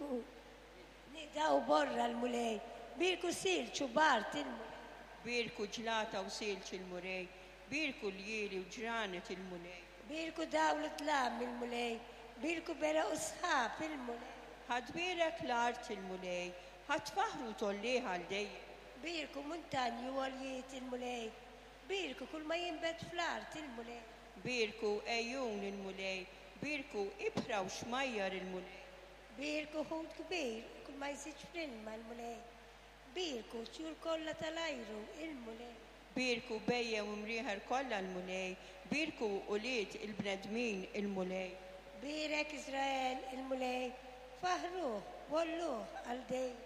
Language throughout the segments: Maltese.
Bierku nida u borra l-Mulej, bierku silġ u bard il-Mulej. Bierku ġlata u silġ il-Mulej, bierku ljieli u ġranet il-Mulej. Bierku dawl u dlam il-Mulej, bierku beraq u sħab il-Mulej. Ħa tbierek l-art il-Mulej, ħa tfaħħru u tgħollih għal dejjem. Bierku muntanji u għoljiet il-Mulej, bierku kull ma jinbet fl-art il-Mulej. Bierku għejun il-Mulej, bierku ibħra u xmajjar il-Mulej. Bierku ħut kbir u kull ma jżidx fl-ilma l-Mulej, bierku t-tjur kollha tal-ajru il-Mulej. Bierku bhejjem u mrieħel kollha l-Mulej, bierku ulied il-bnedmin il-Mulej. Bierek Iżrael il-Mulej, faħħruh u għolluh għal dejjem.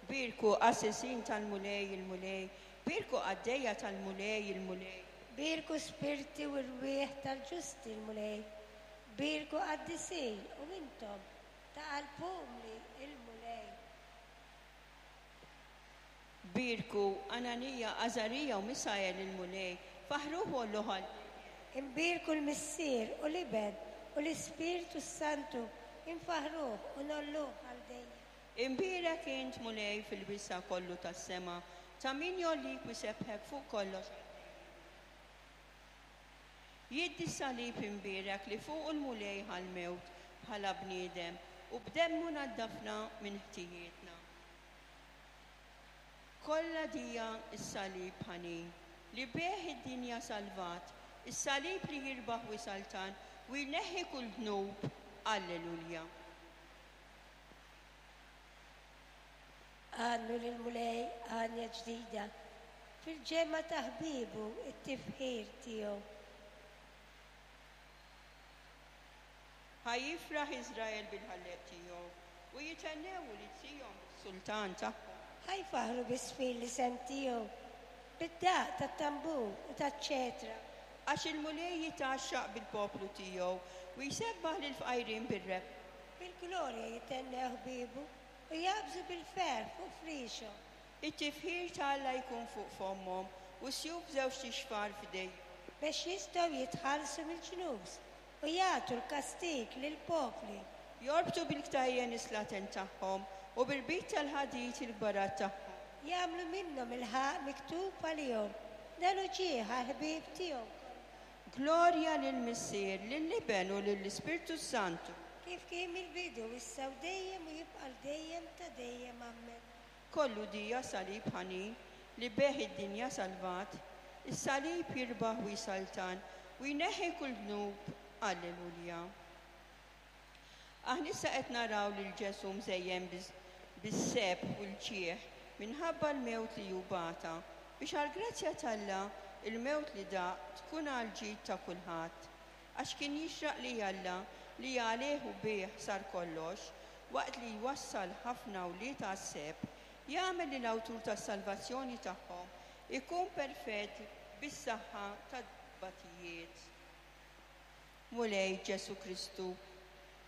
Bierku qassisin tal-Mulej il-Mulej, bierku qaddejja tal-Mulej il-Mulej. Bierku spirti u rwieħ tal-ġusti l-Mulej, bierku qaddisin u intom ta' qalb umli il-Mulej. Bierku Ananija, Għażarija u Misael il-Mulej, faħħruh u għolluh għal dejjem. Imbierku l-Missier u l-Iben u l-Ispirtu s-Santu, infaħħruh u ngħolluh għal dejjem. Imbierek int, Mulej, fil-wisa' kollu tas-sema, ta' min jgħollik u jsebbħek fuq kollox għal dejjem. Jiddi s-salib imbierek li fuqu l-Mulej ħa l-mewt bħala bniedem u b'demmu naddafna minn ħtijietna. Kollha dija s-salib ħanin li bih id-dinja salvat, is-salib li jirbaħ u jsaltan u jneħħi kull dnub. Alleluja. Għannu lill-Mulej għanja ġdida, fil-ġemgħa ta' ħbiebu t-tifħir tiegħu. Ħa jifraħ Iżrael bil-Ħallieq tiegħu, u jithennew ulied Sijon bis-Sultan tagħhom. Ħa jfaħħru bis-sfir l-isem tiegħu, bid-daqq tat-tambur u taċ-ċetra. Għax il-Mulej jitgħaxxaq bil-poplu tiegħu, u jsebbaħ lill-fqajrin bir-rebħa. Bil-glorja jithennew ħbiebu, u jaqbżu bil-ferħ fuq friexhom. It-tifħir ta' Alla jkun fuq fommhom, u sjuf b'żewġt ixfar f'idejhom. Biex jistgħu jitħallsu mill-ġnus, u jagħtu l-kastig lill-popli. Jorbtu bil-ktajjen is-slaten tagħhom, u b'irbit tal-ħadid il-kbarat tagħhom. Jagħmlu minnhom il-ħaqq miktub għalihom, dan hu ġieħ għall-ħbieb tiegħu kollha. Glorja lill-Missier, lill-Iben u lill-Ispirtu s-Santu. Kif kien mill-bidu, issa u dejjem u jibqa' għal dejjem ta' dejjem. Ammen. Kollu dija salib ħanin, li bih id-dinja salvat, is-salib jirbaħ u jsaltan, u jneħħi kull dnub. Alleluja. Aħna issa qed naraw lil Ġesù mżejjen bis-sebħ u l-ġieħ minħabba l-mewt li hu bata, biex għall-grazzja t'Alla il-mewt li daq tkun għall-ġid ta' kulħadd. Għax kien jixraq li Alla, li għalih u bih sar kollox, waqt li jwassal ħafna wlied għas-sebħ, jagħmel li l-awtur tas-salvazzjoni tagħhom ikun perfett bis-saħħa tat-tbatijiet. Mulej Ġesù Kristu,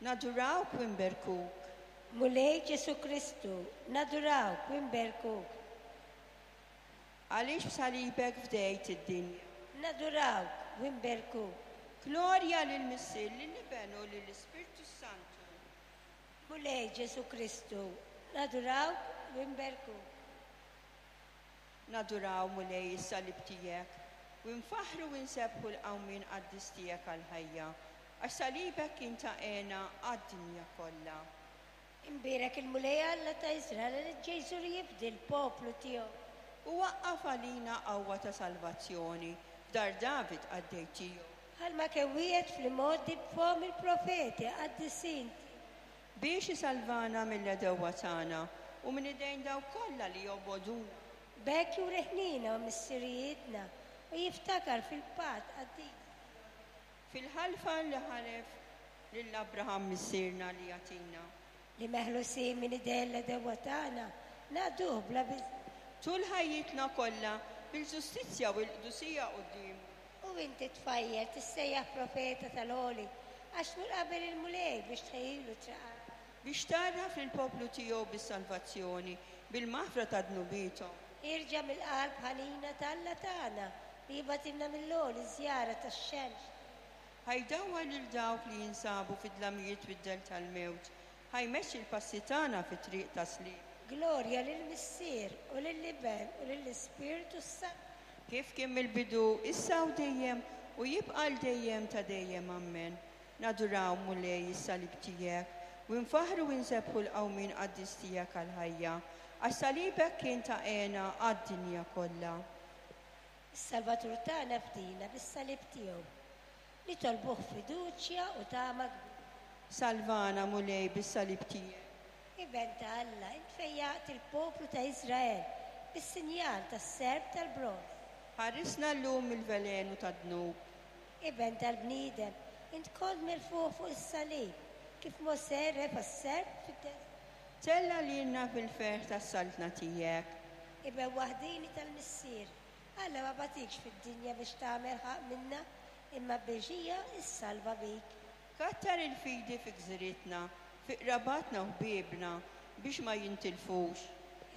nadurawk u nberkuk. Mulej Ġesù Kristu, nadurawk u nberkuk. Għaliex b'salibek fdejt id-dinja. Nadurawk u nberkuk. Glorja lill-Missier, lill-Iben u lill-Ispirtu s-Santu. Mulej Ġesù Kristu, nadurawk u nberkuk. Naduraw, Mulej, is-salib tiegħek, u nfaħħru u nsebbħu l-qawmien qaddis tiegħek għall-ħajja, għax salibek kien ta' hena għad-dinja kollha. Imbierek il-Mulej Alla ta' Iżrael li ġej jżur jifdi l-poplu tiegħu. U waqqaf għalina qawwa ta' salvazzjoni f'dar David qaddej tiegħu. Bħalma kien wiegħed fl-imgħoddi b'fomm il-profeti qaddisin tiegħu. Biex isalvana mill-għedewwa tagħna u minn idejn dawk kollha li jobogħduna. B'hekk juri ħniena ma' missirijietna u jiftakar fil-patt qaddis tiegħu. Fil-ħalfa li ħalef lil Abraham missierna li jagħtina. Li meħlusin minn idejn l-għedewwa tagħna, naqduh bla biża'. Tul ħajjitna kollha bil-ġustizzja u l-qdusija quddiemu. U inti, tfajjel, tissejjaħ profeta tal-Għoli, għax tmur qabel il-Mulej biex tħejjilu t-triqat. Biex tgħarraf lill-poplu tiegħu bis-salvazzjoni, bil-maħfra ta' dnubiethom. Ħierġa mill-qalb ħanina t'Alla tagħna, li jibgħatilna mill-għoli ż-żjara tax-xemx. Ħa jdawwar lil dawk li jinsabu fid-dlamijiet u d-dell tal-mewt. Ħa jmexxi l-passi tagħna fit-triq tas-sliem. Glorja lill-Missier u lill-Iben u lill-Ispirtu s-Santu. Kif kien mill-bidu, issa u dejjem, u jibqa' għal dejjem ta' dejjem. Ammen. Naduraw, Mulej, is-salib tiegħek, u nfaħħru u nsebbħu l-qawmien qaddis tiegħek għall-ħajja, għax salibek kien ta' hena għad-dinja kollha. Is-Salvatur tagħna fdina bis-salib tiegħu. Nitolbuh fiduċja u tama kbira. Salvana, Mulej, bis-salib tiegħek. Iben ta' Alla, int fejjaqt il-poplu ta' Iżrael bis-sinjal tas-serp tal-bronż. Ħarisna llum mill-velenu tad-dnub. Iben tal-bniedem, int kont merfugħ fuq is-salib, kif Mosè refa' s-serp fid-deżert. Tella' lilna fil-ferħ tas-saltna tiegħek. Iben waħdieni tal-Missier, Alla ma bagħtikx fid-dinja biex tagħmel ħaqq minna, imma biex hija ssalva bik. Kattar il-fidi fi gżiritna, fi qrabatna u ħbiebna, biex ma jintilfux.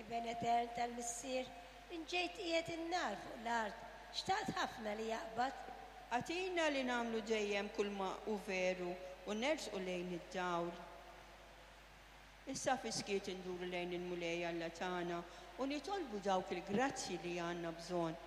Iben etern tal-Missier, int ġejt tqiegħed in-nar fuq l-art, xtaqt ħafna li jaqbad. Agħtina li nagħmlu dejjem kulma hu veru u nersqu lejn id-dawl. Issa fis-skiet induru lejn il-Mulej Alla tagħna u nitolbu dawk il-grazzji li għandna bżonn.